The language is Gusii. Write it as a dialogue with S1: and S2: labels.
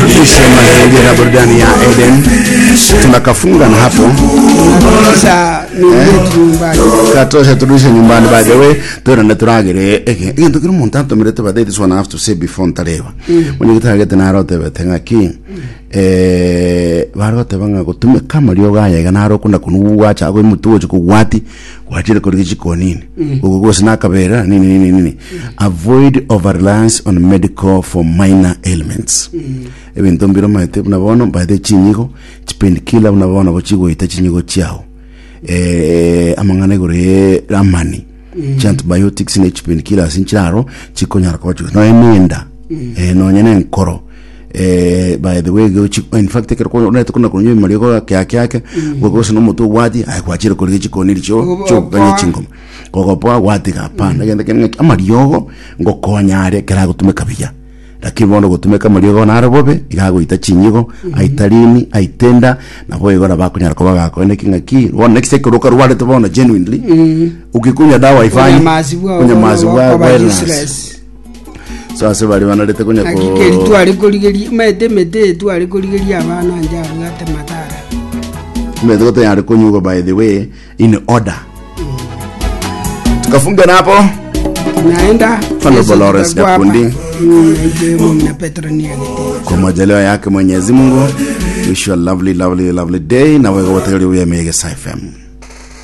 S1: Isema la burudani ya Eden tunakafunga na hapo
S2: Sasa niingie nyumbani.
S1: katosha turudishe nyumbani by the way twirane turagire eke egento kiri omonto antomerete by the way this one I have to say before ntareba onye gitagete narotebete ng'aki eh, baroteba ng'a gotumeka amariogo aya iga naro okunda konwa gwacha ago emotwe gocha kogwati gwachire korigia chikonini ogo gose nakabera nini nini nini avoid over reliance on medical for minor ailments ebinto mbire omanyete buna bono by the chinyigo chipainkiller buna bono nabo chigoita chinyigo chiao eh, amang'ana igoro ye amani chiantibiotics ne chipainkillers nchiraro chikonyara koba chigo nonya nenda eh, nonya na enkoro eh, by the way gochi- in fact ekero konya- omanyete kona konywa emariogo ake ake ake gose na omotwe obwati aye gwachire korigia chikoni chio
S2: Ogopoa.
S1: chiokoganya chingoma gogopoa gwatiga hapana egento kende ng'aki amariogo ngokonya are ekero agotumeka buya Lakini bono gotumeka amariogo naro bobe, iga agoita chinyigo, aita rini, aita enda, nabo igo nabo akonyara koba gakoenda ki ng'aki, bono next ekero okarwarete bono genuinely, ukikunywa dawa haifanyi,
S2: Onyamasi bwao
S1: onyamasi
S2: bono
S1: bwa
S2: bokoba
S1: wellness.
S2: useless.
S1: So ase baria banarete konya
S2: Naki
S1: ko
S2: keri tware korigeria omanyete emete eye tware korigeria abana inche abwate madhara.
S1: Omanyete gotanyare konyugwa by the way in order. Tukafunga na hapo.
S2: Naenda
S1: Honorable
S2: Yesu
S1: Lawrence
S2: tutakuwa hapa.
S1: Nyakundi.
S2: Naitwa Mumina Petro Niagete.
S1: Kwa majaliwa yake Mwenyezi Mungu. Wish you a lovely lovely lovely day na wewe wote uliye Mega FM.